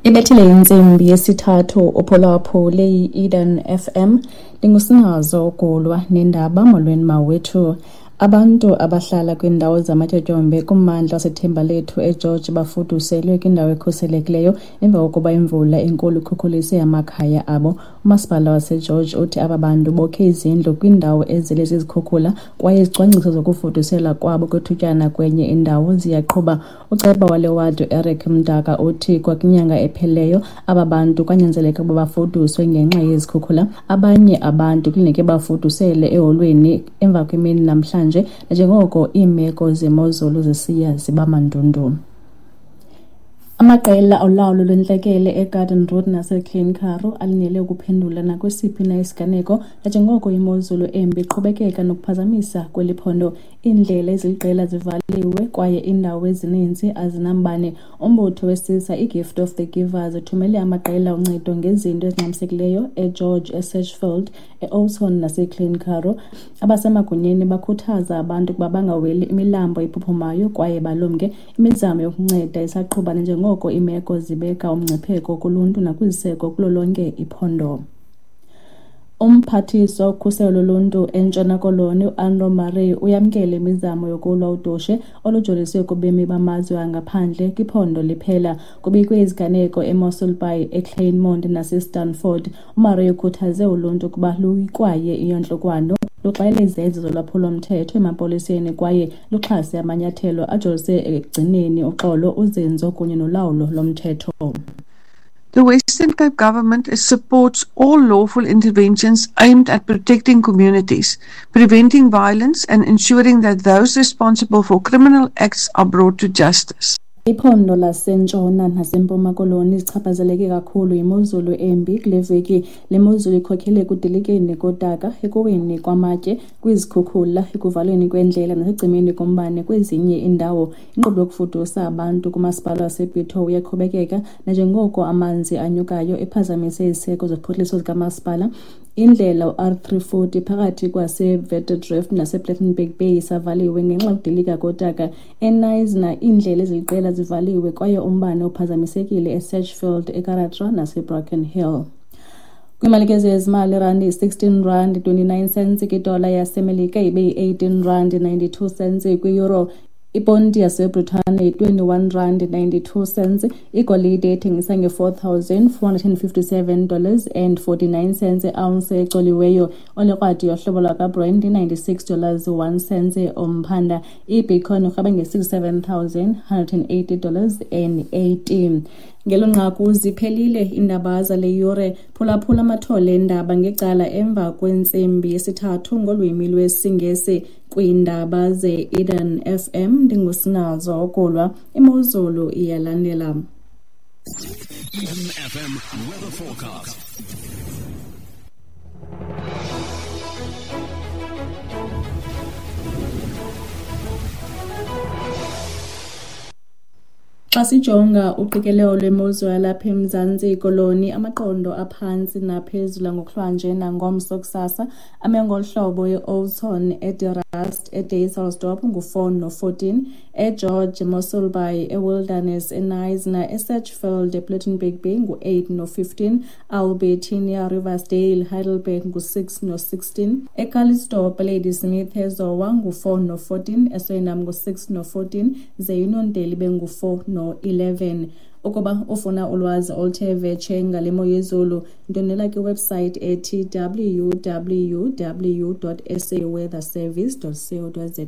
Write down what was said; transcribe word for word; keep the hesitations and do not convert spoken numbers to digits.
Ibethile intsimbi yesithathu uphulaphule i-Eden F M. Ndingusinazo uGulwa nendaba. Molweni mawethu. Abantu abahlala kwiindawo zamatyotyombe kummandla waseThembalethu eGeorge bafuduselwe kwindawo ekhuselekileyo emva kokuba imvula enkulu ikhukhulise amakhaya abo. Umasipala waseGeorge uthi aba bantu bokhe izindlu kwiindawo ezele zizikhukhula kwaye izicwangciso zokufuduselwa kwabo kwethutyana kwenye indawo ziyaqhuba. Uceba wale wadi uEric Mdaka uthi kwakwinyanga ephelileyo aba bantu kwanyanzeleka ukuba bafuduswe ngenxa yezikhukhula. Abanye abantu kulindeleke bafudusele eholweni emva kwemini namhlanje nanjengoko iimeko zemozulu zisiya ziba mandundu. Amaqela olawulo lwentlekele eGarden Route naseKlein Karoo alindele ukuphendula nakwesiphi na isiganeko nanjengoko imozulu embi iqhubekeka nokuphazamisa kweli phondo. Iindlela eziliqela zivaliwe kwaye iindawo ezininzi azinambane. Umbutho wesisa iGift of the Givers uthumele amaqela oncedo ngezinto ezingxamisekileyo eGeorge, eSedgefield, eOudtshoorn naseKlein Karoo. Abasemagunyeni bakhuthaza abantu ukuba bangaweli imilambo ephuphumayo kwaye balumke. Imizamo yokunceda isaqhuba nanjengoko iimeko zibeka umngcipheko kuluntu nakwiziseko kulo lonke iphondo. Umphathiswa wokhuselo loluntu eNtshona Koloni uAnro Murray uyamkele imizamo yokulwa udushe olujoliswe kubemi bamazwe angaphandle kwiphondo liphela. Kubikwe iziganeko eMossel Bay, eKleinmond naseStanford. UMurray ukhuthaze uluntu ukuba luyikwaye iyantlukwano, luxele izenzo zolwaphulo-mthetho emapoliseni kwaye luxhase amanyathelo ajolise ekugcineni uxolo, uzinzo kunye nolawulo lomthetho. The Western Cape government supports all lawful interventions aimed at protecting communities, preventing violence, and ensuring that those responsible for criminal acts are brought to justice. Iphondo laseNtshona naseMpuma Koloni zichaphazeleke kakhulu yimozulu embi kule veki. Le mozulu ikhokelele ekudilikeni kodaka, ekuweni kwamatye, kwizikhukhula, ekuvalweni kweendlela nasekucimeni kombane kwezinye iindawo. Inkqubo yokufudusa abantu kumasipala waseBitou iyaqhubekeka nanjengoko amanzi anyukayo ephazamise iziseko zophuhliso zikamasipala. Indlela u-R three forty phakathi kwaseWitdrift nasePlettenberg Bay isavaliwe ngenxa yokudilika kodaka. EKnysna iindlela eziliqela zivaliwe kwaye umbane uphazamisekile eSedgefield, eKaratra naseBroken Hill. Kwimalike zezimali, irandi yi-sixteen rand twenty-nine cents kwidola yaseMelika, ibe yi-eighteen rand ninety-two cents kwi-euro. Iponti yaseBritane yi-twenty-one rand ninety-two cents. Igolide ethengisa nge-four thousand four hundred and fifty-seven dollars and forty-nine cents iounce ecoliweyo. Olikrwadi yohlobo lwakwaBrent i-ninety-six dollars one cent umphanda. IBitcoin irhweba nge-sixty-seven thousand hundred and eighty dollars and eighty. Ngelo nqaku ziphelile iindaba zale yure. Phulaphula amathole eendaba ngecala emva kwentsimbi yesithathu ngolwimi lwesiNgesi kwiindaba ze-Eden F M. Ndingusinazo Okulwa. Imozulu iyalandela. Eden F M weather forecast. Xa sijonga uqikelelo lwemozulu yalapha eMzantsi Koloni, amaqondo aphantsi naphezulu ngokuhlwanje nangomso kusasa ame ngolu hlobo: eOudtshoorn, eDe Rust, eDysselsdorp ngu-four no-fourteen, eGeorge, Mossel Bay, eWilderness, eKnysna, eSedgefield, ePlettenberg Bay ngu-eight no-fifteen, Albertinia, Riversdale, Heidelberg ngu-six no-sixteen, eCalitzdorp, Ladysmith, eZowa ngu-four no-fourteen, eSuriname ngu-six no-fourteen, ze iUniondale ibe ngu-four no-eleven. Ukuba ufuna ulwazi oluthe vetshe ngale mo yezulu, ndwendwela kwiwebhusayithi ethi W W W dot S A weather service dot co dot za.